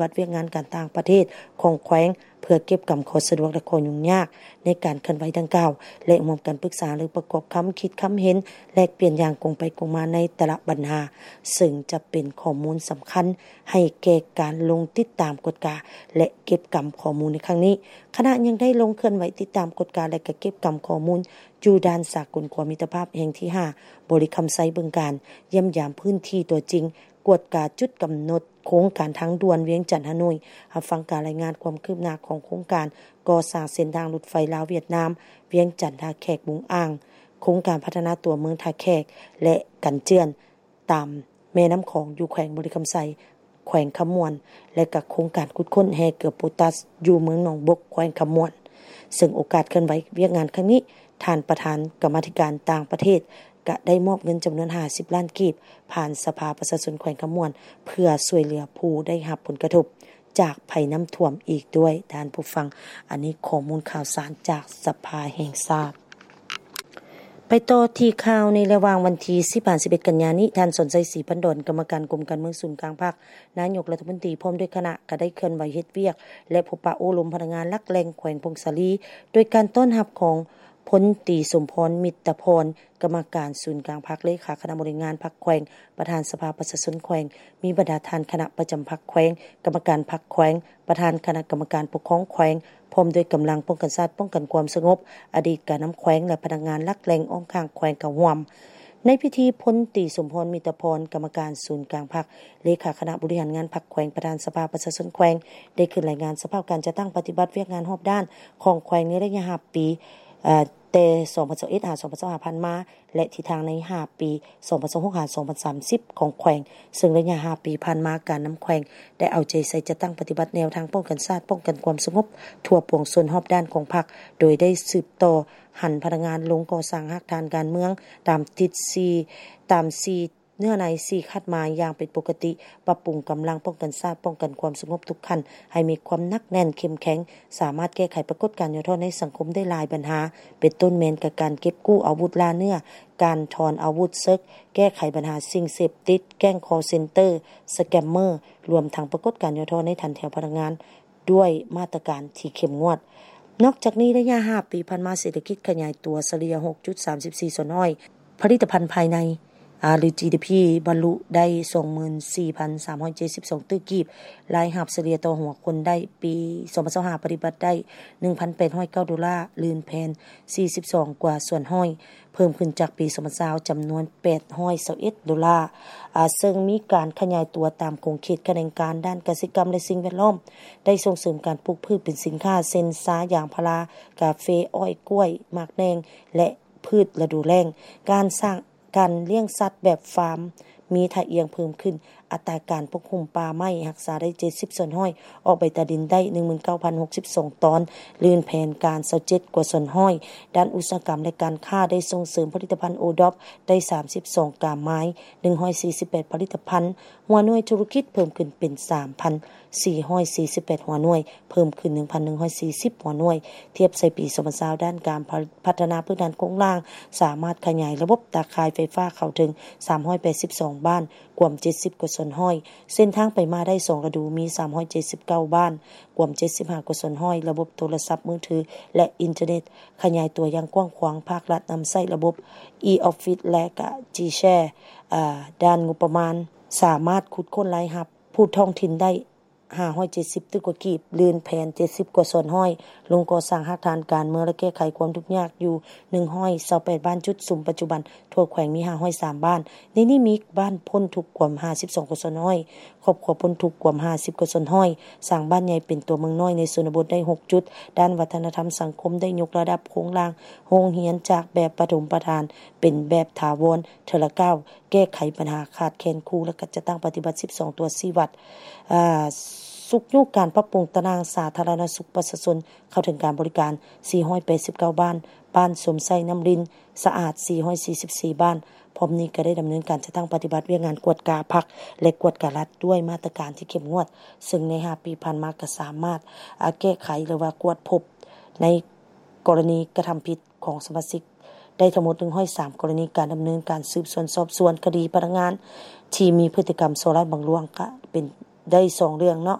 ບັດວຽກງານການຕ່າງປະເທດຂອງແຂວງ ເພື່ອເກັບກຳຂໍ້ສະດວກ ແລະ ຂໍ້ຫຍຸ້ງຍາກໃນການເຄື່ອນໄຫວດັ່ງກ່າວ ແລະ ຮ່ວມກັນປຶກສາ ຫຼື ປະກອບຄຳຄິດຄຳເຫັນ ແລກປ່ຽນຢ່າງກົງໄປກົງມາໃນແຕ່ລະບັນຫາ, ເຊິ່ງຈະເປັນຂໍ້ມູນສຳຄັນໃຫ້ແກ່ການລົງຕິດຕາມກວດກາ ແລະ ເກັບກຳຂໍ້ມູນໃນຄັ້ງນີ້. ຄະນະຍັງໄດ້ລົງເຄື່ອນໄຫວຕິດຕາມກວດກາ ແລະ ກະເກັບກຳຂໍ້ມູນຢູ່ດ່ານສາກົນຂົວມິດຕະພາບແຫ່ງທີຫ້າ ບໍລິຄຳໄຊ ບຶງການ, ຢ້ຽມຢາມພື້ນທີ່ຕົວຈິງ, ກວດກາຈຸດກຳນົດໂຄງການທາງດ່ວນວຽງຈັນ-ຮ່າໂນ້ຍ, ຮັບຟັງການລາຍງານຄວາມຄືບໜ້າຂອງໂຄງການກໍ່ສ້າງເສັ້ນທາງລົດໄຟລາວ-ຫວຽດນາມ ວຽງຈັນ-ທ່າແຂກ-ບຸງອ່າງ, ໂຄງການພັດທະນາຕົວເມືອງທ່າແຂກ ແລະ ກັນເຈື່ອນ ຕາມແມ່ນ້ຳຂອງຢູ່ແຂວງບໍລິຄຳໄຊ, ແຂວງຄຳມ່ວນ ແລະ ກະໂຄງການຂຸດຄົ້ນແຮ່ເກືອໂປຕັສຢູ່ເມືອງໜອງບົກ ແຂວງຄຳມ່ວນ. ເຊິ່ງໂອກາດເຄື່ອນໄຫວວຽກງານຄັ້ງນີ້, ທ່ານປະທານກຳມາທິການຕ່າງປະເທດ ກະໄດ້ມອບເງິນຈຳນວນຫ້າສິບລ້ານກີບ ຜ່ານສະພາປະຊາຊົນແຂວງຄຳມ່ວນ ເພື່ອຊ່ວຍເຫຼືອຜູ້ໄດ້ຮັບຜົນກະທົບຈາກໄພນ້ຳຖ້ວມອີກດ້ວຍ. ທ່ານຜູ້ຟັງ, ອັນນີ້ຂໍ້ມູນຂ່າວສານຈາກສະພາແຫ່ງຊາດ. ໄປຕໍ່ທີ່ຂ່າວໃນລະຫວ່າງວັນທີສິບຫາສິບເອັດກັນຍານີ້, ທ່ານ ສອນໄຊ ສີພັນດອນ ກຳມະການກົມການເມືອງສູນກາງພັກ, ນາຍົກລັດຖະມົນຕີ ພ້ອມດ້ວຍຄະນະ ກໍໄດ້ເຄື່ອນໄຫວເຮັດວຽກ ແລະ ພົບປະໂອ້ລົມພະນັກງານຫຼັກແຫຼ່ງແຂວງຜົ້ງສາລີ ໂດຍການຕ້ອນຮັບຂອງ ພົນຕີ ສົມພອນ ມິດຕະພອນ ກຳມະການສູນກາງພັກ, ເລຂາຄະນະບໍລິຫານງານພັກແຂວງ, ປະທານສະພາປະຊາຊົນແຂວງ, ມີບັນດາທ່ານຄະນະປະຈຳພັກແຂວງ, ກຳມະການພັກແຂວງ, ປະທານຄະນະກຳມະການປົກຄອງແຂວງ, ພ້ອມດ້ວຍກຳລັງປ້ອງກັນຊາດ, ປ້ອງກັນຄວາມສະຫງົບ, ອະດີດການນຳແຂວງ ແລະ ພະນັກງານຫຼັກແຫຼ່ງອ້ອມຂ້າງແຂວງເຂົ້າຮ່ວມ. ໃນພິທີ ພົນຕີ ສົມພອນ ມິດຕະພອນ ກຳມະການສູນກາງພັກ, ເລຂາຄະນະບໍລິຫານງານພັກແຂວງ, ປະທານສະພາປະຊາຊົນແຂວງ ໄດ້ຂຶ້ນລາຍງານສະພາບການຈັດຕັ້ງປະຕິບັດວຽກງານຮອບດ້ານຂອງແຂວງໃນໄລຍະຫ້າປີ, ເອີ່ ແຕ່ສອງພັນຊາວເອັດ ຫາ ສອງພັນຊາວຫ້າ ຜ່ານມາ ແລະ ທິດທາງໃນຫ້າປີ ສອງພັນຊາວຫົກ ຫາ ສອງພັນສາມສິບ ຂອງແຂວງ, ເຊິ່ງໄລຍະຫ້າປີຜ່ານມາ ການນຳແຂວງໄດ້ເອົາໃຈໃສ່ຈັດຕັ້ງປະຕິບັດແນວທາງປ້ອງກັນຊາດ, ປ້ອງກັນຄວາມສະຫງົບທົ່ວປວງຊົນຮອບດ້ານຂອງພັກ, ໂດຍໄດ້ສືບຕໍ່ຫັນພະນັກງານລົງກໍ່ສ້າງຮາກຖານການເມືອງຕາມທິດສີ່, ຕາມສີ່ ເນື້ອໃນສີ່ຄາດໝາຍຢ່າງເປັນປົກກະຕິ, ປັບປຸງກຳລັງປ້ອງກັນຊາດ, ປ້ອງກັນຄວາມສະຫງົບທຸກຂັ້ນໃຫ້ມີຄວາມໜັກແໜ້ນເຂັ້ມແຂງ, ສາມາດແກ້ໄຂປາກົດການຫຍໍ້ທໍ້ໃນສັງຄົມໄດ້ຫຼາຍບັນຫາ, ເປັນຕົ້ນແມ່ນກະການເກັບກູ້ອາວຸດລ່າເນື້ອ, ການຖອນອາວຸດເສິກ, ແກ້ໄຂບັນຫາສິ່ງເສບຕິດ, ແກ້ງຄໍເຊັນເຕີ, ສະແກມເມີ, ລວມທັງປາກົດການຫຍໍ້ທໍ້ໃນຖັນແຖວພະນັກງານ ດ້ວຍມາດຕະການທີ່ເຂັ້ມງວດ. ນອກຈາກນີ້, ໄລຍະຫ້າປີຜ່ານມາ, ເສດຖະກິດຂະຫຍາຍຕົວສະເລ່ຍ ຫົກຈຸດສາມສິບສີ່ສ່ວນຮ້ອຍ, ຜະລິດຕະພັນພາຍໃນ ອາ ຫຼື ຈີດີພີ ບັນລຸໄດ້ ສອງໝື່ນສີ່ພັນສາມຮ້ອຍເຈັດສິບສອງຕື້ກີບ, ລາຍຮັບສະເລ່ຍຕໍ່ຫົວຄົນໄດ້ ປີສອງພັນຊາວຫ້າ ປະຕິບັດໄດ້ ໜຶ່ງພັນແປດຮ້ອຍເກົ້າໂດລາ, ລື່ນແຜນ ສີ່ສິບສອງກວ່າສ່ວນຮ້ອຍ, ເພີ່ມຂຶ້ນຈາກປີສອງພັນຊາວ ຈຳນວນ ແປດຮ້ອຍຊາວເອັດໂດລາ, ອາ ເຊິ່ງມີການຂະຫຍາຍຕົວຕາມຂົງເຂດຂະແໜງການດ້ານກະສິກຳ ແລະ ສິ່ງແວດລ້ອມ, ໄດ້ສົ່ງເສີມການປູກພືດເປັນສິນຄ້າ ເຊັ່ນ ຊາ, ຢາງພາລາ, ກາເຟ, ອ້ອຍ, ກ້ວຍ, ໝາກແໜ່ງ ແລະ ພືດລະດູແລ້ງ, ການສ້າງ ການລ້ຽງສັດແບບຟາມມີທ່າອ່ຽງເພີ່ມຂຶ້ນ, ອັດຕາການປົກຫຸ້ມປ່າໄມ້ຮັກສາໄດ້ ເຈັດສິບສ່ວນຮ້ອຍ, ອອກໃບຕາດິນໄດ້ ໜຶ່ງໝື່ນເກົ້າພັນຫົກສິບສອງຕອນ, ລື່ນແຜນການ ຊາວເຈັດກວ່າສ່ວນຮ້ອຍ, ດ້ານອຸດສາຫະກຳ ແລະ ການຄ້າໄດ້ສົ່ງເສີມຜະລິດຕະພັນໂອດອບໄດ້ ສາມສິບສອງກາມາຍ, ໜຶ່ງຮ້ອຍສີ່ສິບແປດຜະລິດຕະພັນ, ຫົວໜ່ວຍທຸລະກິດເພີ່ມຂຶ້ນເປັນ ສາມພັນສີ່ຮ້ອຍສີ່ສິບແປດຫົວໜ່ວຍ, ເພີ່ມຂຶ້ນ ໜຶ່ງພັນໜຶ່ງຮ້ອຍສີ່ສິບຫົວໜ່ວຍ, ທຽບໃສ່ປີສອງພັນຊາວ ດ້ານການພັດທະນາພື້ນຖານໂຄງລ່າງ ສາມາດຂະຫຍາຍລະບົບຕາຂ່າຍໄຟຟ້າເຂົ້າເຖິງ ສາມຮ້ອຍແປດສິບສອງບ້ານ, ກວມ ເຈັດສິບກວ່າສ່ວນຮ້ອຍ, ເສັ້ນທາງໄປມາໄດ້ສອງລະດູ ມີ ສາມຮ້ອຍເຈັດສິບເກົ້າບ້ານ, ກວມ ເຈັດສິບຫ້າກວ່າສ່ວນຮ້ອຍ, ລະບົບໂທລະສັບມືຖື ແລະ ອິນເຕີເນັດ ຂະຫຍາຍຕົວຢ່າງກວ້າງຂວາງ, ພາກລັດນຳໃຊ້ລະບົບ e-office ແລະ ກະ G-Share. ອາ ດ້ານງົບປະມານ ສາມາດຂຸດຄົ້ນລາຍຮັບຜູ້ທ້ອງຖິ່ນໄດ້ ຫ້າຮ້ອຍເຈັດສິບຕື້ກວ່າກີບ, ລື່ນແຜນ ເຈັດສິບກວ່າສ່ວນຮ້ອຍ, ລົງກໍ່ສ້າງຮາກຖານການເມືອງ ແລະ ແກ້ໄຂຄວາມທຸກຍາກຢູ່ ໜຶ່ງຮ້ອຍຊາວແປດບ້ານຈຸດ, ສຸມປັດຈຸບັນທົ່ວແຂວງມີ ຫ້າຮ້ອຍສາມບ້ານ, ໃນນີ້ມີບ້ານພົ້ນທຸກກວມ ຫ້າສິບສອງກວ່າສ່ວນຮ້ອຍ, ຄອບຄົວພົ້ນທຸກກວມ ຫ້າສິບກວ່າສ່ວນຮ້ອຍ, ສ້າງບ້ານໃຫຍ່ເປັນຕົວເມືອງນ້ອຍໃນຊົນນະບົດໄດ້ ຫົກຈຸດ, ດ້ານວັດທະນະທຳສັງຄົມໄດ້ຍົກລະດັບໂຄງລ່າງໂຮງຮຽນຈາກແບບປະຖົມປະຖານເປັນແບບຖາວອນເທື່ອລະກ້າວ, ແກ້ໄຂບັນຫາຂາດແຄນຄູ ແລະ ກະຈັດຕັ້ງປະຕິບັດ ສິບສອງຕົວຊີ້ວັດ. ອາ ຊຸກຍູ້ການປັບປຸງຕາໜ່າງສາທາລະນະສຸກປະຊາຊົນເຂົ້າເຖິງການບໍລິການ ສີ່ຮ້ອຍແປດສິບເກົ້າບ້ານ, ບ້ານຊົມໃຊ້ນ້ຳລິນສະອາດ ສີ່ຮ້ອຍສີ່ສິບສີ່ບ້ານ. ພ້ອມນີ້ກໍໄດ້ດຳເນີນການຈັດຕັ້ງປະຕິບັດວຽກງານກວດກາພັກ ແລະ ກວດກາລັດດ້ວຍມາດຕະການທີ່ເຂັ້ມງວດ, ເຊິ່ງໃນຫ້າປີຜ່ານມາກໍສາມາດ ອາ ແກ້ໄຂ ຫຼືວ່າກວດພົບໃນກໍລະນີກະທຳຜິດຂອງສະມາຊິກ ໄດ້ທັງໝົດ ໜຶ່ງຮ້ອຍສາມ ກໍລະນີ, ການດຳເນີນການສືບສວນສອບສວນຄະດີພະນັກງານທີ່ມີພຶດຕິກຳສໍ້ລາດບັງຫຼວງ ກະເປັນ ໄດ້ສອງເລື່ອງເນາະ